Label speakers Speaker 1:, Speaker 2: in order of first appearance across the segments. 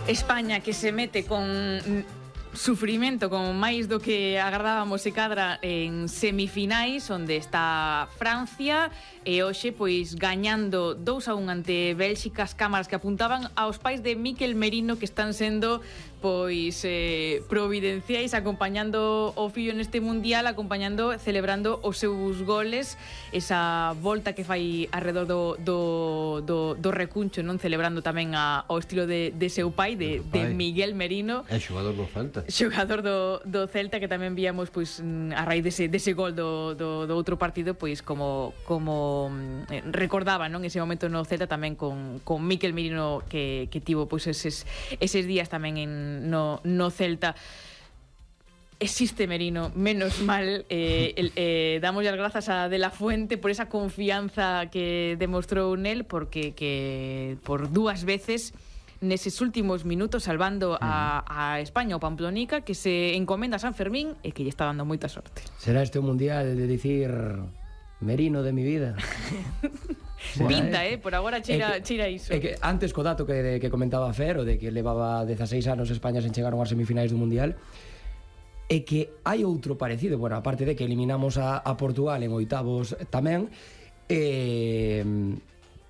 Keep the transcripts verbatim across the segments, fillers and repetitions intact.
Speaker 1: España que se mete con sufrimento, con máis do que agardábamos e cadra en semifinais, onde está Francia, e hoxe pois gañando dous a un ante Bélxica, as cámaras que apuntaban aos pais de Mikel Merino, que están sendo pois eh, providenciais, acompañando o fillo neste mundial, acompañando, celebrando os seus goles, esa volta que fai arredor do, do, do, do recuncho, non, celebrando tamén a, ao estilo de, de seu pai, de, de Miguel Merino.
Speaker 2: É xogador do Celta.
Speaker 1: Xogador do, do Celta, que tamén víamos pois a raíz dese, dese gol do, do, do outro partido, pois como, como eh, recordaba, non, ese momento no Celta tamén con, con Mikel Merino, que, que tivo pois eses, eses días tamén en No, no Celta. Existe Merino, menos mal, eh, el, eh, damos as grazas a De La Fuente por esa confianza que demostrou nel, porque que por dúas veces neses últimos minutos salvando a, a España, o Pamplonica, que se encomenda a San Fermín e que lle está dando moita sorte.
Speaker 3: Será este o mundial de dicir Merino de mi vida.
Speaker 1: Pinta, eh, por agora chira,
Speaker 3: que,
Speaker 1: chira iso.
Speaker 3: É que antes co dato que, que comentaba Fer, o de que levaba dezaseis anos España sen chegar ás semifinais do Mundial, é que hai outro parecido, bueno, aparte de que eliminamos a, a Portugal en oitavos tamén, eh,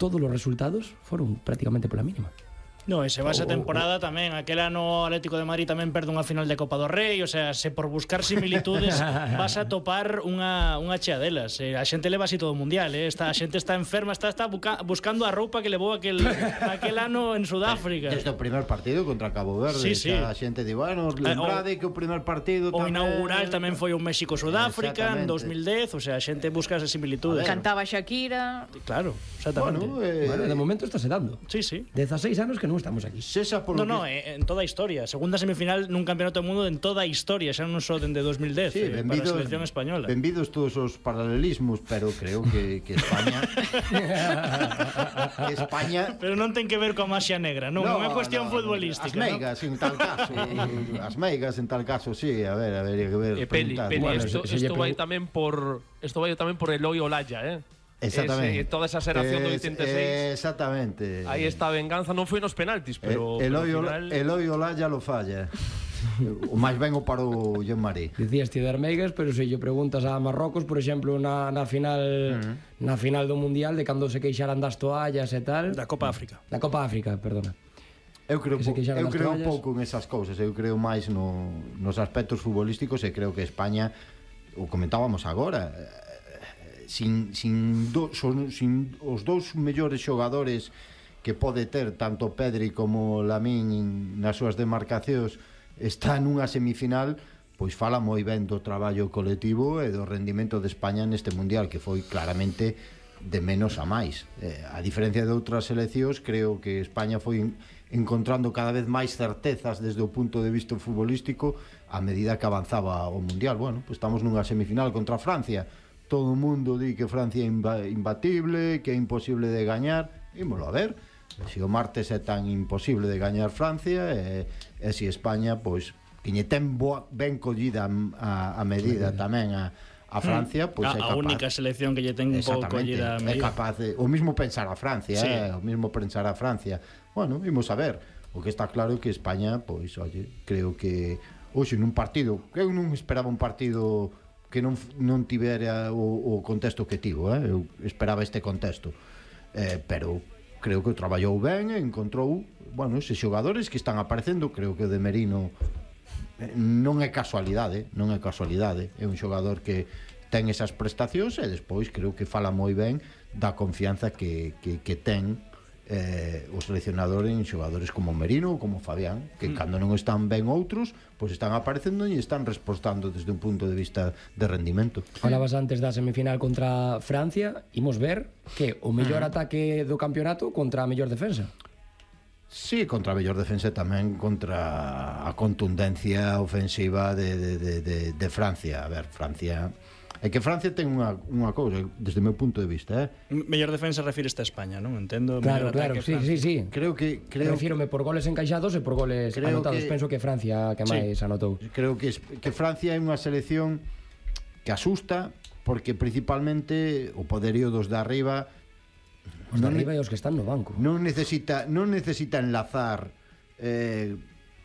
Speaker 3: todos os resultados foron prácticamente pola mínima.
Speaker 4: No, e se va esa
Speaker 3: Oh,
Speaker 4: temporada tamén. Aquel ano o Atlético de Madrid tamén perde unha final de Copa do Rei. O sea, se por buscar similitudes vas a topar unha, unha chea delas. eh, A xente leva así todo o mundial, eh? Esta, A xente está enferma, está, está buca, buscando a roupa que levou aquel, aquel ano en Sudáfrica.
Speaker 2: Desde o primer partido contra Cabo Verde,
Speaker 4: sí, sí.
Speaker 2: A xente di, bueno, lembrade que o primer partido
Speaker 4: O
Speaker 2: tamén...
Speaker 4: inaugural tamén foi un México-Sudáfrica en dos mil dez. O sea, a xente busca esas similitudes.
Speaker 1: Cantaba Shakira.
Speaker 4: Claro, exactamente.
Speaker 2: Bueno, eh,
Speaker 3: Bueno, de momento está se dando.
Speaker 4: Sí, sí.
Speaker 3: dezaseis anos que non estamos aquí.
Speaker 2: César por
Speaker 4: No,
Speaker 2: lo
Speaker 4: no,
Speaker 2: que...
Speaker 4: eh, en toda a historia. Segunda semifinal nun campeonato do mundo en toda a historia, xa non só dende dos mil dez,
Speaker 2: Sí,
Speaker 4: eh, para a
Speaker 2: benvidos,
Speaker 4: selección española.
Speaker 2: benvidos todos os paralelismos, pero creo que, que España España
Speaker 4: Pero non ten que ver coa maxia negra, non, non é cuestión
Speaker 2: no,
Speaker 4: futbolística.
Speaker 2: As meigas,
Speaker 4: ¿no?
Speaker 2: en tal caso As meigas en tal caso, sí. A ver, a ver, hay que ver.
Speaker 5: E Peli,
Speaker 2: preguntar.
Speaker 5: Peli,
Speaker 3: Bueno,
Speaker 5: esto,
Speaker 3: se- se
Speaker 5: esto
Speaker 3: lle
Speaker 5: vai
Speaker 3: pregu-
Speaker 5: tamén por esto vai tamén por Eloy Olaya, eh.
Speaker 2: Exactamente.
Speaker 5: Ese, toda esa xeración do
Speaker 2: Es-
Speaker 5: oitenta e seis.
Speaker 2: Exactamente.
Speaker 5: Aí está a venganza, non foi nos penaltis, pero
Speaker 2: Eh,
Speaker 5: pero
Speaker 2: Eloy,
Speaker 5: ao
Speaker 2: Ola,
Speaker 5: final
Speaker 2: Eloy Olaya lo falla. O máis ben o para o Jean-Marie.
Speaker 3: Dicías ti de Armeigas, pero se lle preguntas a Marrocos, por exemplo, na, na final uh-huh. na final do Mundial, de cando se queixaran das toallas e tal,
Speaker 4: Da Copa África.
Speaker 3: da Copa África, perdona.
Speaker 2: Eu creo,
Speaker 3: Que se
Speaker 2: po,
Speaker 3: queixaron
Speaker 2: eu
Speaker 3: das
Speaker 2: creo
Speaker 3: toallas.
Speaker 2: pouco en esas cousas. Eu creo máis no, nos aspectos futbolísticos, e creo que España, o comentábamos agora, eh, sin, sin, do, son, sin os dous mellores xogadores que pode ter tanto Pedri como Lamín nas súas demarcacións, está nunha semifinal, pois fala moi ben do traballo colectivo e do rendimento de España neste mundial, que foi claramente de menos a máis. Eh, a diferencia de outras seleccións, creo que España foi encontrando cada vez máis certezas desde o punto de vista futbolístico a medida que avanzaba o mundial. Bueno, pois estamos nunha semifinal contra Francia. Todo o mundo di que Francia é imbatible, que é imposible de gañar. Ímolo a ver. Se o martes é tan imposible de gañar Francia, e, e se España, pois, que lle ten boa, ben collida a, a medida tamén a, a Francia, pois
Speaker 4: a,
Speaker 2: é
Speaker 4: a
Speaker 2: capaz.
Speaker 4: única selección que lle ten un pouco collida a
Speaker 2: é
Speaker 4: medida.
Speaker 2: capaz de, o mismo pensar a Francia,
Speaker 4: Sí.
Speaker 2: eh, o mismo pensar a Francia. Bueno, vimos a ver. O que está claro é que España, pois, oye, creo que hoxe nun partido, eu non esperaba un partido que non non tivera o, o contexto que tivo, eh? Eu esperaba este contexto. Eh, pero creo que o traballou ben e encontrou, bueno, eses xogadores que están aparecendo. Creo que o de Merino eh, non é casualidade, non é casualidade, é un xogador que ten esas prestacións, e despois creo que fala moi ben da confianza que, que, que ten eh, o seleccionador en xogadores como Merino ou como Fabián, que mm. cando non están ben outros, pois están aparecendo e están respostando desde un punto de vista de rendimento.
Speaker 3: Falabas antes da semifinal contra Francia, imos ver que o mellor mm. ataque do campeonato contra a mellor defensa.
Speaker 2: Sí, contra a mellor defensa, tamén contra a contundencia ofensiva de, de, de, de, de Francia. A ver, Francia... É que Francia ten unha, unha cousa, desde o meu punto de vista, eh?
Speaker 4: Mellor defensa refíreste a España, non? Entendo.
Speaker 3: Claro,
Speaker 4: mellor
Speaker 3: claro,
Speaker 4: ataque,
Speaker 3: sí, sí, sí.
Speaker 2: Creo que... Creo
Speaker 3: Refírome por goles encaixados e por goles
Speaker 2: Creo
Speaker 3: anotados.
Speaker 2: que-
Speaker 3: Penso que Francia que máis
Speaker 4: Sí.
Speaker 3: anotou.
Speaker 2: Creo que, es- que Francia é unha selección que asusta, porque principalmente o poderío dos de arriba
Speaker 3: Os de arriba e os que están no banco.
Speaker 2: Non necesita, non necesita enlazar eh,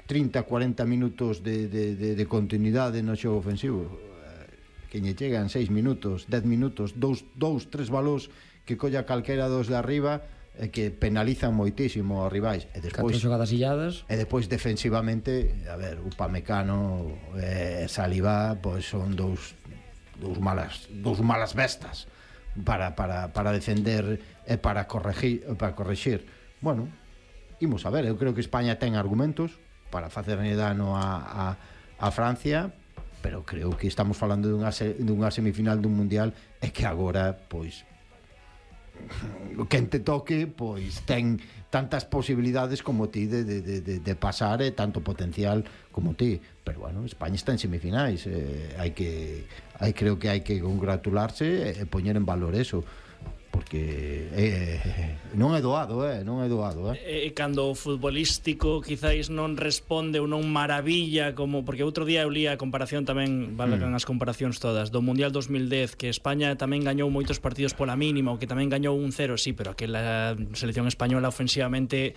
Speaker 2: trinta, cuarenta minutos de, de, de, de continuidade no xogo ofensivo. Que lle chegan seis minutos, dez minutos, dous, dous, tres balós que colla calquera dos de arriba e que penalizan moitísimo aos rivais. E despois,
Speaker 3: catro xogadas illadas.
Speaker 2: E despois defensivamente, a ver, Upamecano e Saliba, pois son dous dous malas, dous malas bestas para, para, para defender e para corregir, para corregir. Bueno, imos a ver, eu creo que España ten argumentos para facerlle dano a, a, a Francia, pero creo que estamos falando dunha, dunha semifinal dun mundial e que agora, pois, quen te toque, pois ten tantas posibilidades como ti de, de, de, de pasar e tanto potencial como ti, pero bueno, España está en semifinais, eh, hai que hai creo que hai que congratularse e poñer en valor eso, porque eh, non é doado, eh, non é doado, eh.
Speaker 4: E cando o futbolístico quizáis non responde ou non maravilla, como porque outro día eu lía a comparación tamén, valgan mm. as comparacións todas, do Mundial dos mil dez, que España tamén gañou moitos partidos pola mínima, ou que tamén gañou un cero, sí, pero aquela selección española ofensivamente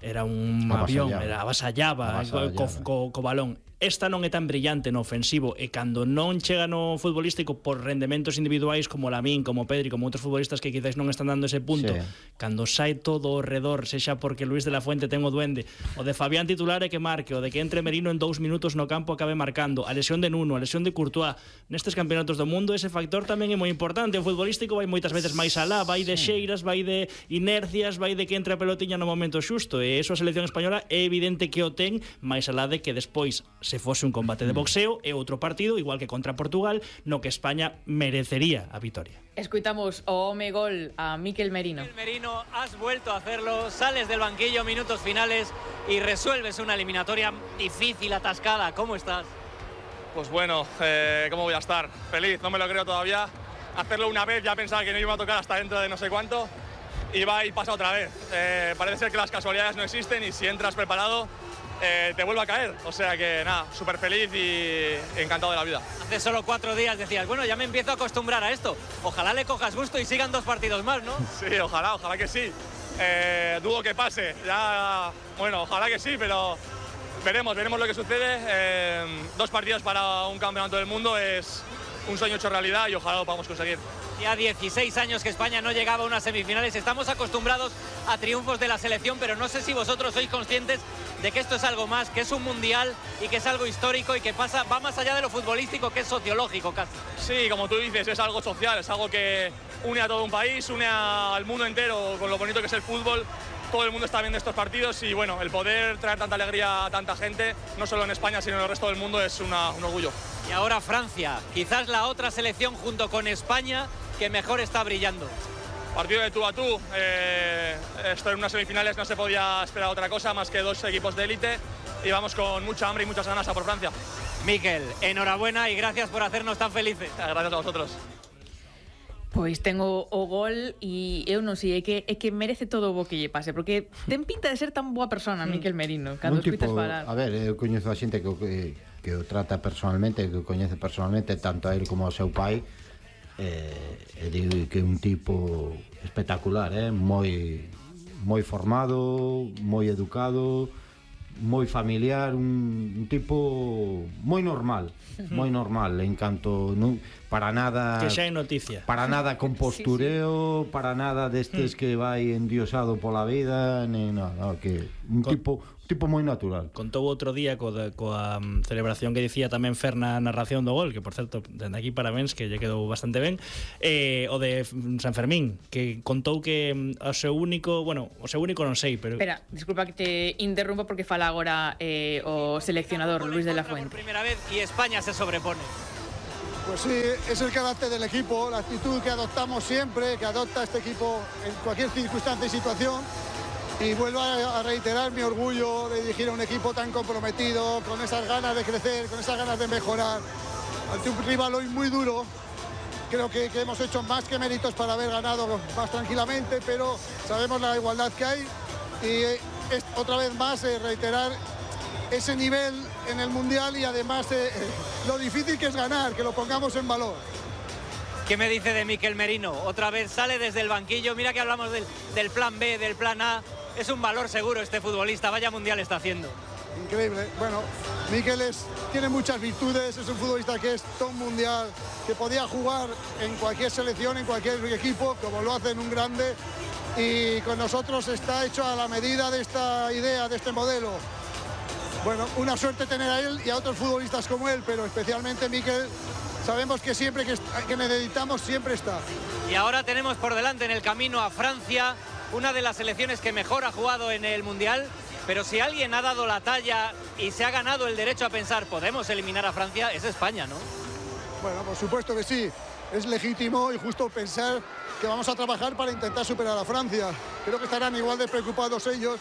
Speaker 4: era un avión, era avasallaba, avasallaba. Co, co, co balón. Esta non é tan brillante no ofensivo, e cando non chega no futbolístico por rendementos individuais como Lamín, como Pedri, como outros futbolistas que quizás non están dando ese punto, sí. Cando sai todo ao redor, sexa porque Luis de la Fuente ten o duende, o de Fabián titular e que marque, o de que entre Merino en dous minutos no campo acabe marcando, a lesión de Nuno, a lesión de Courtois, nestes campeonatos do mundo ese factor tamén é moi importante. O futbolístico vai moitas veces máis alá, vai de xeiras, vai de inercias, vai de que entre a pelotiña no momento xusto, e eso a selección española é evidente que o ten, máis alá de que despois se fose un combate de boxeo e outro partido, igual que contra Portugal, no que España merecería a vitoria.
Speaker 1: Escuitamos o home gol a Mikel Merino.
Speaker 6: Mikel Merino, has vuelto a hacerlo, sales del banquillo, minutos finales y resuelves una eliminatoria difícil, atascada. ¿Cómo estás?
Speaker 7: Pues bueno, eh, ¿cómo voy a estar? Feliz, no me lo creo todavía. Hacerlo una vez, ya pensaba que no iba a tocar hasta dentro de no sé cuánto, y va y pasa otra vez. Eh, parece ser que las casualidades no existen y si entras preparado, Eh, te vuelve a caer, o sea que nada, súper feliz y encantado de la vida.
Speaker 6: Hace solo cuatro días decías, bueno, ya me empiezo a acostumbrar a esto, ojalá le cojas gusto y sigan dos partidos más, ¿no?
Speaker 7: Sí, ojalá, ojalá que sí, eh, dudo que pase, ya, bueno, ojalá que sí, pero veremos, veremos lo que sucede, eh, dos partidos para un campeonato del mundo es un sueño hecho realidad y ojalá lo podamos conseguir.
Speaker 6: Ya dieciséis años que España no llegaba a unas semifinales. Estamos acostumbrados a triunfos de la selección, pero no sé si vosotros sois conscientes de que esto es algo más, que es un mundial y que es algo histórico y que pasa, va más allá de lo futbolístico, que es sociológico casi.
Speaker 7: Sí, como tú dices, es algo social, es algo que une a todo un país, une al mundo entero con lo bonito que es el fútbol. Todo el mundo está viendo estos partidos y bueno, el poder traer tanta alegría a tanta gente, no solo en España sino en el resto del mundo, es una, un orgullo.
Speaker 6: Y ahora Francia, quizás la otra selección junto con España que mejor está brillando.
Speaker 7: Partido de tú a tú, eh, esto en unas semifinales no se podía esperar otra cosa más que dos equipos de élite y vamos con mucha hambre y muchas ganas a por Francia.
Speaker 6: Mikel, enhorabuena y gracias por hacernos tan felices.
Speaker 7: Gracias a vosotros.
Speaker 1: Pois ten o, o gol e eu non sei, é que, é que merece todo o bo que lle pase, porque ten pinta de ser tan boa persona, Mikel Merino, cando
Speaker 2: tipo,
Speaker 1: escuitas falar.
Speaker 2: A ver, eu coñezo a xente que, que, que o trata personalmente, que o coñece personalmente, tanto a él como ao seu pai, eh, e digo que é un tipo espectacular, eh? moi, moi formado, moi educado, moi familiar, un, un tipo moi normal, moi normal, en canto non, para nada
Speaker 4: que xa é noticia.
Speaker 2: Para nada con postureo, sí, sí. Para nada destes que vai endiosado pola vida, ni nada, que un con, tipo tipo moi natural.
Speaker 4: Contou outro día co de, coa um, celebración que dicía tamén Fer na narración do gol, que por certo, dende aquí parabéns, que lle quedou bastante ben, eh, o de San Fermín, que contou que o seu único, bueno, o seu único non sei, pero...
Speaker 1: Espera, disculpa que te interrumpa porque fala agora eh, o seleccionador Luis de la Fuente.
Speaker 6: Por primera vez y España se sobrepone.
Speaker 8: Pues sí, es el carácter del equipo, la actitud que adoptamos siempre, que adopta este equipo en cualquier circunstancia y situación. Y vuelvo a reiterar mi orgullo de dirigir a un equipo tan comprometido, con esas ganas de crecer, con esas ganas de mejorar. Ante un rival hoy muy duro, creo que, que hemos hecho más que méritos para haber ganado más tranquilamente, pero sabemos la igualdad que hay. Y es, otra vez más eh, reiterar ese nivel en el Mundial y además eh, lo difícil que es ganar, que lo pongamos en valor.
Speaker 6: ¿Qué me dice de Mikel Merino? Otra vez sale desde el banquillo. Mira que hablamos del, del plan B, del plan A. Es un valor seguro este futbolista. Vaya mundial está haciendo.
Speaker 8: Increíble. Bueno, Mikel es, tiene muchas virtudes. Es un futbolista que es todo mundial, que podía jugar en cualquier selección, en cualquier equipo, como lo hace en un grande. Y con nosotros está hecho a la medida de esta idea, de este modelo. Bueno, una suerte tener a él y a otros futbolistas como él, pero especialmente Mikel. Sabemos que siempre que, que necesitamos, siempre está.
Speaker 6: Y ahora tenemos por delante en el camino a Francia, una de las selecciones que mejor ha jugado en el Mundial. Pero si alguien ha dado la talla y se ha ganado el derecho a pensar, podemos eliminar a Francia, es España, ¿no?
Speaker 8: Bueno, por supuesto que sí. Es legítimo y justo pensar que vamos a trabajar para intentar superar a Francia. Creo que estarán igual de preocupados ellos.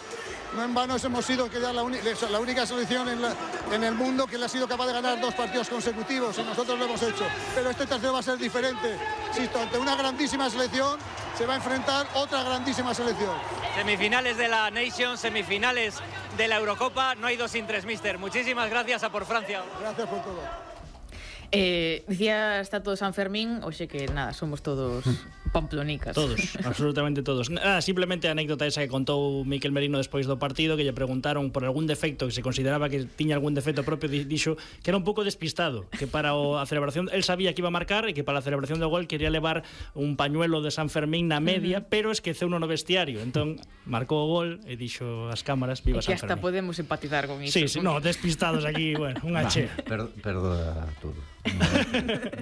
Speaker 8: No en vano hemos sido que ya la, la única selección en, la, en el mundo que le ha sido capaz de ganar dos partidos consecutivos y nosotros lo hemos hecho. Pero este tercero va a ser diferente. Insisto, ante una grandísima selección se va a enfrentar otra grandísima selección.
Speaker 6: Semifinales de la Nations, semifinales de la Eurocopa. No hay dos sin tres, mister. Muchísimas gracias a por Francia.
Speaker 8: Gracias por todo.
Speaker 1: Eh, decía, está todo San Fermín, oxe que nada, somos todos pamplonicas.
Speaker 4: Todos, absolutamente todos. Nada, simplemente a anécdota esa que contou Mikel Merino despois do partido, que lle preguntaron por algún defecto, que se consideraba que tiña algún defecto propio, dixo que era un pouco despistado, que para o, a celebración, él sabía que iba a marcar e que para a celebración do gol quería levar un pañuelo de San Fermín na media, uh-huh. pero esqueceu no vestiario, entón marcou o gol e dixo as cámaras, viva San Fermín.
Speaker 1: E que hasta podemos empatizar con iso.
Speaker 4: Sí, sí, no, despistados aquí, bueno, unha che.
Speaker 2: Per, perdoa todo. No,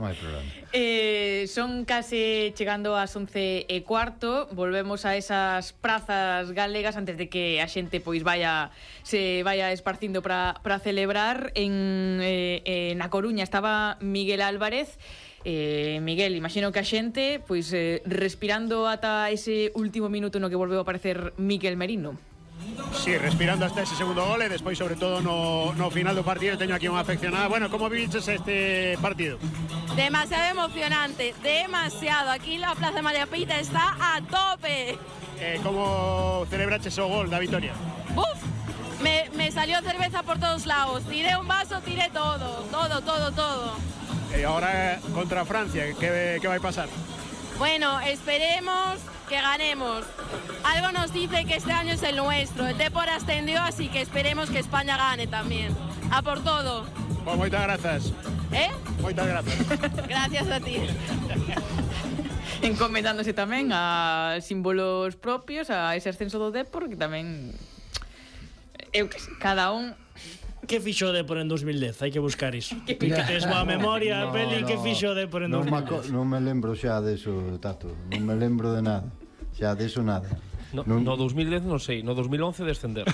Speaker 2: no hai problema.
Speaker 1: Eh, son case chegando ás once e cuarto. Volvemos a esas prazas galegas antes de que a xente pois vaya se vaya esparcindo para para celebrar. En eh, eh, na Coruña estaba Miguel Álvarez. Eh, Miguel, imagino que a xente pois eh, respirando ata ese último minuto no que volveu a aparecer Mikel Merino.
Speaker 9: Sí, respirando hasta ese segundo gol e despois sobre todo no, no final do partido teño aquí unha afeccionada. Bueno, como viches este partido?
Speaker 10: Demasiado emocionante, demasiado. Aquí la Plaza María Pita está a tope.
Speaker 9: Eh, como celebraches o gol da vitoria?
Speaker 10: Uf, me, me salió cerveza por todos lados. Tiré un vaso, tiré todo, todo, todo, todo.
Speaker 9: E eh, ahora contra Francia, que, que vai pasar?
Speaker 10: Bueno, esperemos que ganemos. Algo nos dice que este año es el nuestro. El Depor ascendió, así que esperemos que España gane también. A por todo.
Speaker 9: Pues moitas grazas.
Speaker 10: ¿Eh?
Speaker 9: Moitas grazas.
Speaker 10: Gracias a ti.
Speaker 1: Encomendándose tamén a símbolos propios, a ese ascenso do Depor, que tamén eu que sei, cada un.
Speaker 4: Que fixo de por en dos mil dez? Hai que buscar iso. Que tes boa memoria, no, Peli, no, que fixo de por en
Speaker 2: no
Speaker 4: dos mil dez?
Speaker 2: Non me lembro xa deso, Tato. Non me lembro de nada. Xa deso nada.
Speaker 5: No, non... no dos mil dez non sei, no dos mil once descender.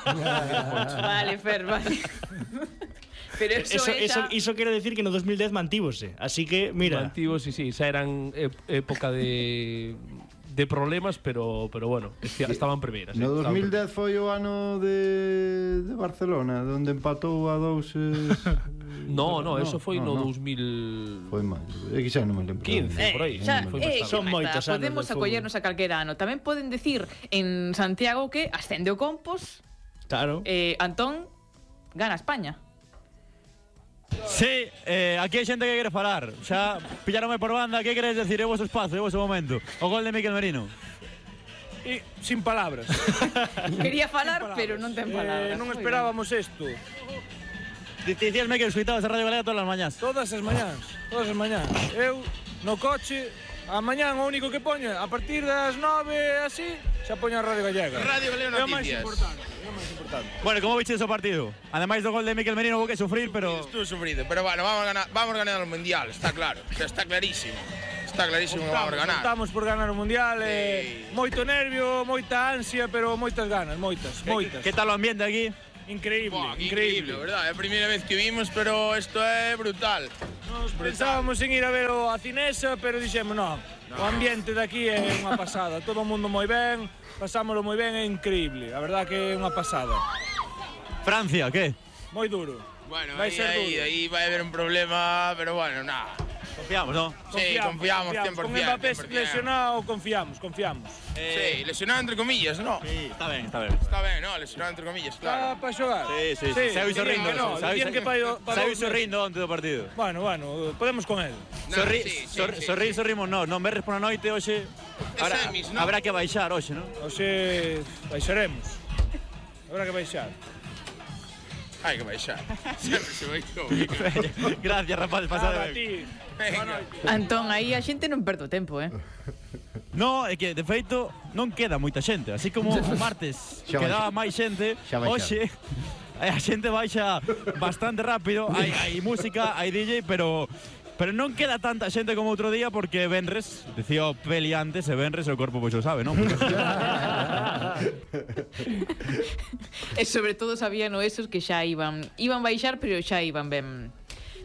Speaker 1: Vale, Fer, vale. Pero eso,
Speaker 4: eso,
Speaker 1: esa...
Speaker 4: eso, eso quere decir que no dos mil dez mantívose. Así que, mira.
Speaker 5: Mantivos, sí, sí. Xa eran época de... de problemas, pero pero bueno, estaban primeiras.
Speaker 2: No dos mil dez foi o ano de, de Barcelona, onde empatou a dous... Eh,
Speaker 5: no, no, eso foi no, no dos mil...
Speaker 2: Foi máis, é que xa non me lembro.
Speaker 5: quince,
Speaker 1: eh,
Speaker 5: por aí.
Speaker 1: Xa,
Speaker 5: no
Speaker 1: eh,
Speaker 4: son moitos anos.
Speaker 1: Podemos acollernos a calquera ano. Tamén poden decir en Santiago que ascende o Compos.
Speaker 4: Claro.
Speaker 1: Eh, Antón gana España.
Speaker 11: Sí, eh, aquí hai xente que quere falar. Xa pillaronme por banda. Que queres decir? É o vosso espazo, é o vosso momento. O gol de Mikel Merino.
Speaker 12: E, sin palabras.
Speaker 1: Quería falar, palabras. Pero non ten palabras.
Speaker 12: Eh, non esperábamos isto.
Speaker 11: Dicíasme que escuitabas a Radio Galega todas as mañás.
Speaker 12: Todas as mañás, todas as mañás. Eu, no coche, a mañán o único que poño, a partir das nove, así, xa poño a Radio Gallega.
Speaker 13: Radio Galega Noticias.
Speaker 12: É o máis importante.
Speaker 11: Bueno, como viches o partido? Ademais do gol de Mikel Merino, hubo que sufrir, pero...
Speaker 13: Estuvo sufrido, pero bueno, vamos a ganar, vamos a ganar el Mundial, está claro, está clarísimo. Está clarísimo que vamos a ganar.
Speaker 12: Estamos por ganar o Mundial, eh, moito nervio, moita ansia, pero moitas ganas, moitas, moitas.
Speaker 11: Que tal o ambiente aquí?
Speaker 12: Increíble,
Speaker 13: Buah,
Speaker 12: increíble,
Speaker 13: increíble, verdad, é a primeira vez que vimos, pero isto é brutal.
Speaker 12: Nos pensábamos en ir a ver o a Cinesa, pero dixemos, no, no, o ambiente de aquí é unha pasada, todo o mundo moi ben, pasámoslo moi ben, é increíble, a verdad que é unha pasada.
Speaker 11: Francia, que?
Speaker 12: Moi duro.
Speaker 13: Bueno,
Speaker 12: vai
Speaker 13: aí,
Speaker 12: ser
Speaker 13: aí,
Speaker 12: duro.
Speaker 13: aí vai haber un problema, pero bueno, nada.
Speaker 11: Confiamos, ¿no?
Speaker 13: Sí, confiamos, cien por cien.
Speaker 12: Con Mbappé
Speaker 13: cien por cien.
Speaker 12: lesionado, confiamos, confiamos.
Speaker 13: Eh, sí, lesionado entre comillas, ¿no?
Speaker 11: Sí, está bien, está bien.
Speaker 13: Está ben, no, lesionado entre comillas, claro.
Speaker 12: Está para xogar?
Speaker 11: Sí, sí, sí. Saiu sorrindo.
Speaker 12: No,
Speaker 11: Saiu
Speaker 12: que para, para
Speaker 11: Saiu sorrindo onte do partido.
Speaker 12: Bueno, bueno, podemos con él.
Speaker 13: No,
Speaker 11: Sorri,
Speaker 13: sí, sí,
Speaker 11: sor,
Speaker 13: sí,
Speaker 11: sorri,
Speaker 13: sí.
Speaker 11: sorrimos, no, non verres pola noite hoxe. Habrá,
Speaker 13: semis, ¿no?
Speaker 11: habrá que baixar hoxe, non?
Speaker 12: Oxe, baixaremos. Habrá que baixar.
Speaker 13: Hai que baixar. Sempre se baixou.
Speaker 11: Gracias, rapaz, pasade
Speaker 12: Nada,
Speaker 11: ben.
Speaker 12: ti.
Speaker 13: Venga.
Speaker 1: Antón, aí a xente non perde o tempo, eh?
Speaker 11: No, é que de feito non queda moita xente, así como o martes
Speaker 2: Xa
Speaker 11: quedaba
Speaker 2: baixa.
Speaker 11: máis xente,
Speaker 2: Xa baixa.
Speaker 11: hoxe a xente baixa bastante rápido, hai, hai música, hai D J, pero pero non queda tanta xente como outro día porque venres, dicía o Peli antes, e venres o corpo pois o sabe, non?
Speaker 1: E sobre todo sabían esos que xa iban iban baixar, pero xa iban ben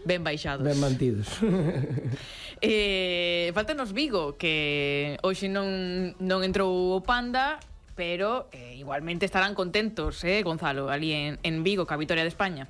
Speaker 1: ben baixados.
Speaker 3: Ben mantidos.
Speaker 1: Eh, faltanos Vigo, que hoxe non non entrou o Panda, pero eh, igualmente estarán contentos, eh, Gonzalo, ali en, en Vigo, ca vitoria de España.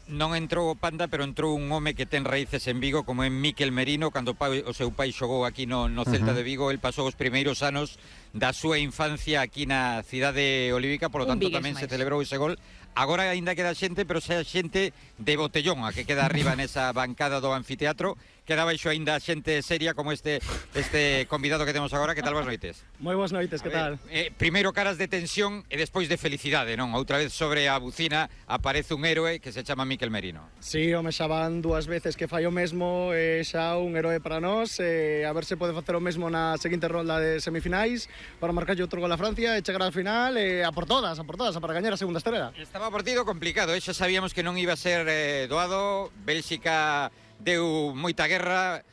Speaker 14: Non entrou o Panda, pero entrou un home que ten raíces en Vigo, como é Miquel Merino. Cando o, pai, o seu pai xogou aquí no, no Celta
Speaker 1: Uh-huh.
Speaker 14: de Vigo, el pasou os primeiros anos da súa infancia aquí na cidade olívica, por lo
Speaker 1: Un
Speaker 14: tanto
Speaker 1: vigués
Speaker 14: tamén se
Speaker 1: máis.
Speaker 14: celebrou ese gol. Agora aínda queda xente, pero xa xente de botellón, a que queda arriba nesa bancada do anfiteatro. Queda baixo aínda xente seria como este este convidado que temos agora. Que tal, boas noites?
Speaker 15: Moi boas noites, que tal?
Speaker 14: Eh, primeiro caras de tensión e despois de felicidade, non? Outra vez sobre a bucina aparece un héroe que se chama Miquel Merino.
Speaker 15: Sí, home, xa van dúas veces que fai o mesmo, e xa un heroe para nós, e a ver se pode facer o mesmo na seguinte ronda de semifinais para marcarlle outro gol a Francia e chegar ao final, e a por todas, a por todas, a para gañar a segunda estrela.
Speaker 14: Estaba partido complicado, eh? Xa sabíamos que non iba a ser eh, doado. Bélxica deu moita guerra,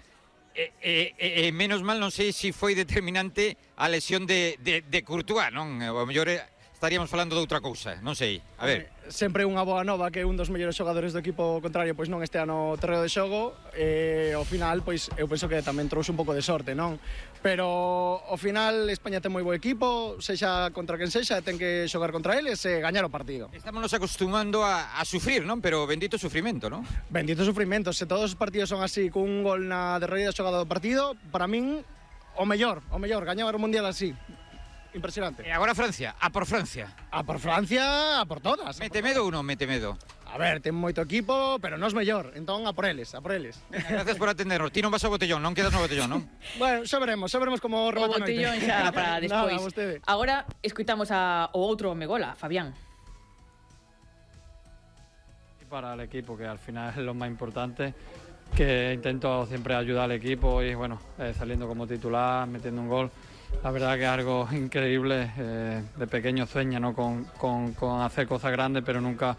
Speaker 14: e, e, e, e menos mal, non sei se foi determinante a lesión de, de, de Courtois, non? O mellor eh, estaríamos falando de outra cousa, non sei. A ver.
Speaker 15: Sempre unha boa nova que un dos mellores xogadores do equipo contrario pois non estea no terreo de xogo, e ao final pois eu penso que tamén trouxe un pouco de sorte, non? Pero ao final España ten moi bo equipo, sexa contra quen sexa, ten que xogar contra eles e gañar o partido.
Speaker 14: Estamos nos acostumando a, a sufrir, non? Pero bendito sufrimento, non?
Speaker 15: Bendito sufrimento, se todos os partidos son así, cun gol na derradeira xogada do partido, para min o mellor, o mellor, gañar o Mundial así. Impresionante.
Speaker 14: E agora Francia, a por Francia.
Speaker 15: A por Francia, a por todas.
Speaker 14: Mete medo ou non mete medo?
Speaker 15: A ver, ten moito equipo, pero non é mellor, entón a por eles, a por eles.
Speaker 14: Gracias por atendernos. Ti non vas ao botellón, non quedas no botellón, non?
Speaker 15: Bueno, xa veremos, xa veremos como
Speaker 1: O
Speaker 15: remata a noite.
Speaker 1: botellón xa para despois.
Speaker 15: Nada, vostede.
Speaker 1: Agora escuitamos a o outro Megola, Fabián.
Speaker 16: Para el equipo, que al final es lo más importante, que intento siempre ayudar al equipo y bueno, eh, saliendo como titular, metiendo un gol. La verdad que es algo increíble, eh, de pequeño sueño, ¿no? con, con, con hacer cosas grandes, pero nunca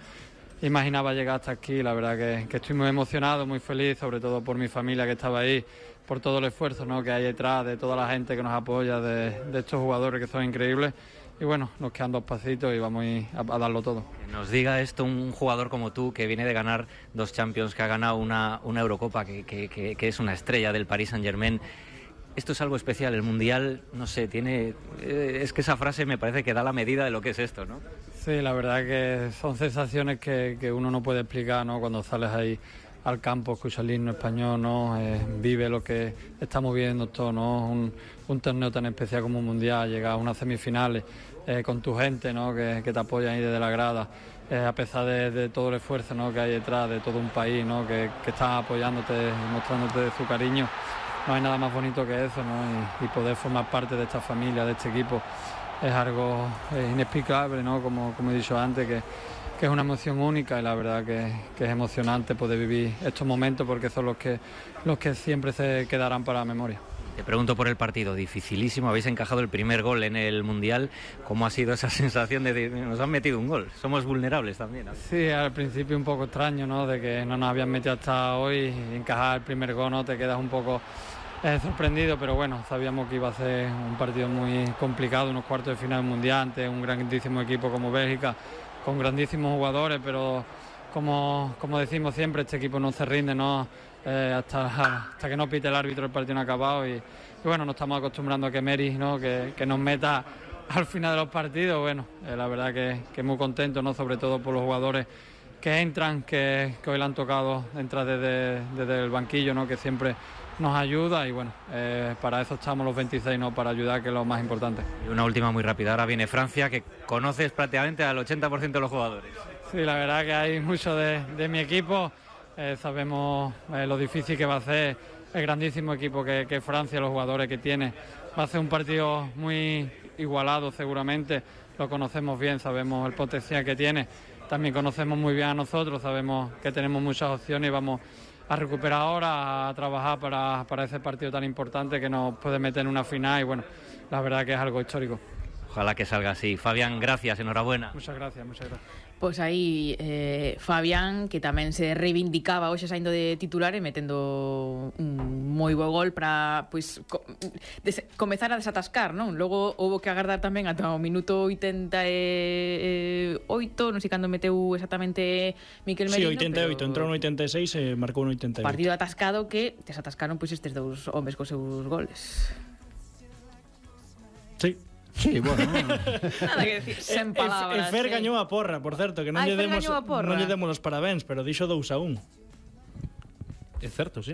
Speaker 16: imaginaba llegar hasta aquí. La verdad que, que estoy muy emocionado, muy feliz, sobre todo por mi familia que estaba ahí, por todo el esfuerzo, ¿no? que hay detrás, de toda la gente que nos apoya, de, de estos jugadores que son increíbles. Y bueno, nos quedan dos pasitos y vamos a, ir a, a darlo todo.
Speaker 17: Que nos diga esto un jugador como tú, que viene de ganar dos Champions, que ha ganado una, una Eurocopa, que, que, que, que es una estrella del Paris Saint-Germain. Esto es algo especial, el Mundial, no sé, tiene... Eh, es que esa frase me parece que da la medida de lo que es esto, ¿no?
Speaker 16: Sí, la verdad que son sensaciones que, que uno no puede explicar, ¿no? Cuando sales ahí al campo, escuchas el himno español, ¿no? Eh, vive lo que estamos viendo todos, ¿no? Un, un torneo tan especial como un Mundial, llegar a unas semifinales eh, con tu gente, ¿no? Que, que te apoyan ahí desde la grada, eh, a pesar de, de todo el esfuerzo, ¿no? que hay detrás, de todo un país, ¿no? que, que está apoyándote y mostrándote su cariño. No hay nada más bonito que eso, ¿no? Y, y poder formar parte de esta familia, de este equipo, es algo eh, inexplicable, ¿no? Como, como he dicho antes, que, que es una emoción única, y la verdad que, que es emocionante poder vivir estos momentos, porque son los que, los que siempre se quedarán para la memoria.
Speaker 17: Te pregunto por el partido, dificilísimo, habéis encajado el primer gol en el Mundial. ¿Cómo ha sido esa sensación de que nos han metido un gol? Somos vulnerables también, ¿no?
Speaker 16: Sí, al principio un poco extraño, ¿no? De que no nos habían metido hasta hoy, y encajar el primer gol, ¿no? Te quedas un poco eh, sorprendido, pero bueno, sabíamos que iba a ser un partido muy complicado, unos cuartos de final mundial ante un grandísimo equipo como Bélgica, con grandísimos jugadores, pero como, como decimos siempre, este equipo no se rinde, ¿no? Eh, hasta, hasta que no pite el árbitro el partido no ha acabado, y, y bueno, nos estamos acostumbrando a que Meri, ¿no? que, que nos meta al final de los partidos. Bueno, eh, la verdad que, que muy contento, ¿no? Sobre todo por los jugadores que entran, que, que hoy le han tocado entrar desde, desde el banquillo, ¿no? Que siempre nos ayuda y bueno, eh, para eso estamos los veintiséis, ¿no? Para ayudar, que es lo más importante.
Speaker 17: Y una última muy rápida, ahora viene Francia, que conoces prácticamente al ochenta por ciento de los jugadores.
Speaker 16: Sí, la verdad que hay mucho de, de mi equipo, eh, sabemos eh, lo difícil que va a ser el grandísimo equipo que, que Francia, los jugadores que tiene. Va a ser un partido muy igualado seguramente, lo conocemos bien, sabemos el potencial que tiene, también conocemos muy bien a nosotros, sabemos que tenemos muchas opciones y vamos a recuperar ahora, a trabajar para, para ese partido tan importante que nos puede meter en una final y bueno, la verdad que es algo histórico.
Speaker 17: Ojalá que salga así. Fabián, gracias, enhorabuena.
Speaker 16: Muchas gracias, muchas gracias.
Speaker 1: Pois aí eh, Fabián, que tamén se reivindicaba hoxe saindo de titular e metendo un moi bo gol para pois co des comezar a desatascar, non? Logo houbo que agardar tamén ata o minuto oitenta e oito, non sei cando meteu exactamente Miquel Merino.
Speaker 4: Sí, oitenta e oito, pero entrou no oitenta e seis e marcou no oitenta e oito.
Speaker 1: Partido atascado que desatascaron pois estes dous homes cos seus goles.
Speaker 4: Sí.
Speaker 2: Sí, bueno.
Speaker 1: Nada que decir, sen palabras.
Speaker 4: E Fer gañou a porra, por certo, que non
Speaker 1: Ai,
Speaker 4: lle
Speaker 1: Fer
Speaker 4: demos
Speaker 1: gañou a porra.
Speaker 4: non lle demos os parabéns, pero dixo dous a un.
Speaker 5: É certo, sí.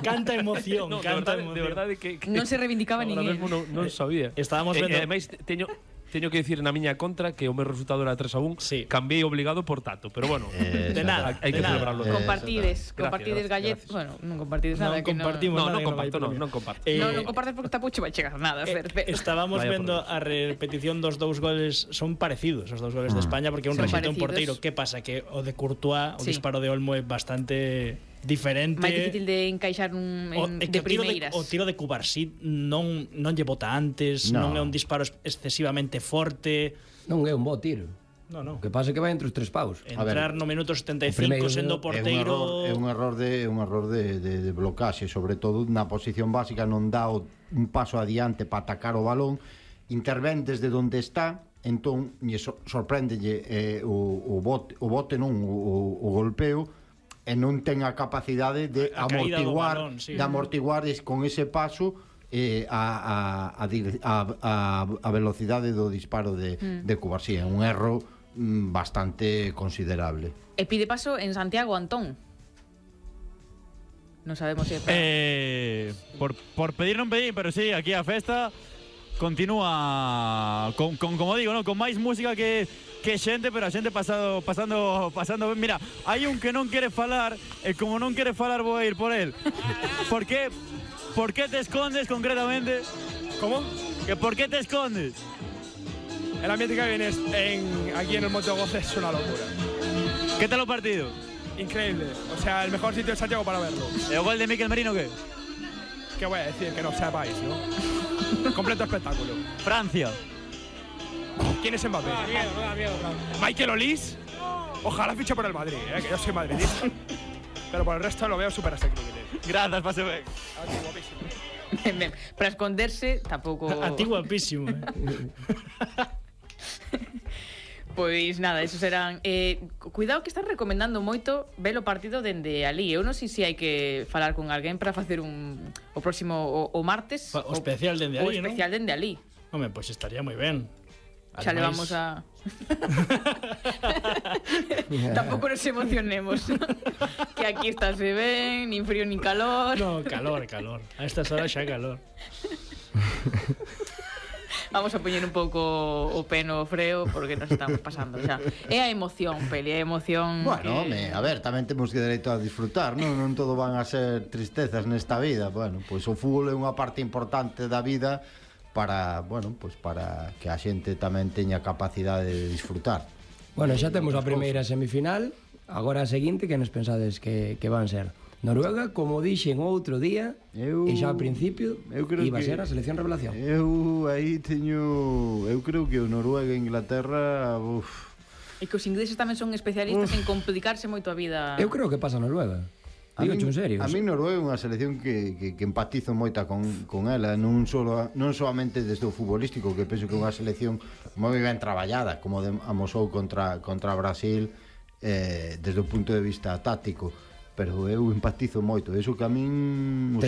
Speaker 4: Canta emoción,
Speaker 5: no,
Speaker 4: canta
Speaker 5: de verdade,
Speaker 4: emoción.
Speaker 5: de verdade que, que
Speaker 1: non se reivindicaba
Speaker 5: no,
Speaker 1: ninguén.
Speaker 5: Ahora mesmo non, non sabía.
Speaker 4: Estábamos
Speaker 5: e,
Speaker 4: vendo.
Speaker 5: E ademais teño teño que dicir na miña contra que o meu resultado era tres a un,
Speaker 4: sí.
Speaker 5: Cambiei obligado por Tato, pero bueno,
Speaker 2: eh,
Speaker 4: de nada,
Speaker 5: hai que celebrarlo.
Speaker 2: Eh,
Speaker 1: compartides,
Speaker 5: Gracias,
Speaker 1: compartides gallet,
Speaker 5: gracias.
Speaker 1: bueno, non compartides nada,
Speaker 4: Non
Speaker 1: que
Speaker 4: compartimos
Speaker 5: No,
Speaker 4: nada,
Speaker 5: non
Speaker 4: que
Speaker 5: comparto,
Speaker 4: vai
Speaker 5: non,
Speaker 4: premio.
Speaker 5: non comparto.
Speaker 4: Eh,
Speaker 1: non, non compartes porque tapuche vai chegar nada, Fer.
Speaker 4: Eh, estábamos
Speaker 5: Vaya
Speaker 4: vendo
Speaker 5: por
Speaker 4: a repetición dos dous goles, son parecidos os dous goles de España porque un
Speaker 1: Son
Speaker 4: rexete un
Speaker 1: parecidos.
Speaker 4: porteiro. Que pasa? Que o de Courtois, o
Speaker 1: Sí.
Speaker 4: disparo de Olmo é bastante diferente.
Speaker 1: máis difícil de encaixar un,
Speaker 4: O,
Speaker 1: en,
Speaker 4: é que
Speaker 1: de
Speaker 4: o tiro
Speaker 1: primeiras.
Speaker 4: de, o tiro de Cubarsí non, non lle bota antes,
Speaker 2: No.
Speaker 4: non é un disparo excesivamente forte.
Speaker 3: Non é un bo tiro.
Speaker 4: No, no.
Speaker 3: O que pasa é que vai entre os tres paus.
Speaker 4: Entrar no minuto setenta e
Speaker 3: o primeiro
Speaker 4: cinco sendo
Speaker 3: minuto
Speaker 4: porteiro.
Speaker 2: É un error, é un error de un error de, de, de blocaxe, sobre todo na posición básica non dá o, un paso adiante para atacar o balón, intervén desde onde está, entón lle so, sorpréndelle eh, o, o bote, o bote non, o, o golpeo, e non ten a capacidade de
Speaker 4: A- a caída do
Speaker 2: amortiguar,
Speaker 4: balón, sí.
Speaker 2: de amortiguar es, con ese paso eh, a, a, a, dir- a, a, a velocidade do disparo de,
Speaker 1: Mm.
Speaker 2: de Cubarsí. É un erro mm, bastante considerable.
Speaker 1: E pide paso en Santiago Antón. Non sabemos se é para...
Speaker 11: Eh, por, por pedir non pedir, pero sí, aquí a festa continúa con, con como digo, ¿no? Con máis música que que xente, pero a xente pasado pasando pasando ben. Mira, hai un que non quere falar e como non quere falar vou a ir por él. Por qué por qué te escondes concretamente?
Speaker 12: ¿Cómo?
Speaker 11: Que por qué te escondes?
Speaker 12: El ambiente que viene es en, aquí en el Monte Goce es una locura.
Speaker 11: ¿Qué tal o partido?
Speaker 12: Increíble. O sea, el mejor sitio de Santiago para verlo.
Speaker 11: E o gol de Miquel Merino que?
Speaker 12: ¿Qué voy a decir? Que no sepáis, ¿no? Completo espectáculo.
Speaker 11: Francia.
Speaker 12: ¿Quién es Mbappé? Michael Olís. Ojalá fiche por el Madrid, ¿eh? Que yo soy madridista. Pero por el resto lo veo súper asequible.
Speaker 11: Gracias, pase ben.
Speaker 1: Ben, ben. Para esconderse tampouco...
Speaker 4: A ti guapísimo. Eh?
Speaker 1: Pois nada, esos eran eh, cuidado que están recomendando moito ver o partido dende ali. Eu non sei se hai que falar con alguén para facer un o próximo o, o martes
Speaker 4: O especial dende
Speaker 1: o
Speaker 4: ali, ¿no?
Speaker 1: especial dende ali.
Speaker 4: Home, pois pues estaría moi ben.
Speaker 1: Xa le vamos a tampouco nos emocionemos. Que aquí estáse ben, nin frío nin calor.
Speaker 4: No, calor, calor. A estas horas xa calor.
Speaker 1: Vamos a poñer un pouco o pé no freo porque nos estamos pasando xa. É a emoción, Peli, é a emoción.
Speaker 2: Bueno,
Speaker 1: que...
Speaker 2: home, a ver, tamén temos que dereito a disfrutar, non? Non todo van a ser tristezas nesta vida. Bueno, pois o fútbol é unha parte importante da vida para, bueno, pois para que a xente tamén teña capacidade de disfrutar.
Speaker 3: Bueno, xa temos a primeira semifinal. Agora a seguinte, que nos pensades que, que van ser? Noruega, como dixen outro día,
Speaker 2: eu,
Speaker 3: e xa ao principio iba a ser a selección revelación.
Speaker 2: Eu aí teño, eu creo que o Noruega e Inglaterra, uf.
Speaker 1: E que os ingleses tamén son especialistas uf. en complicarse moito a vida.
Speaker 3: Eu creo que pasa Noruega. Digo en serio.
Speaker 2: A mí Noruega é unha selección que, que, que empatizo moita con, con ela, non solo non solamente desde o futbolístico, que penso que é unha selección moi ben traballada, como de, amosou contra contra Brasil, eh, desde o punto de vista táctico. Pero eu empatizo moito, eso que a min os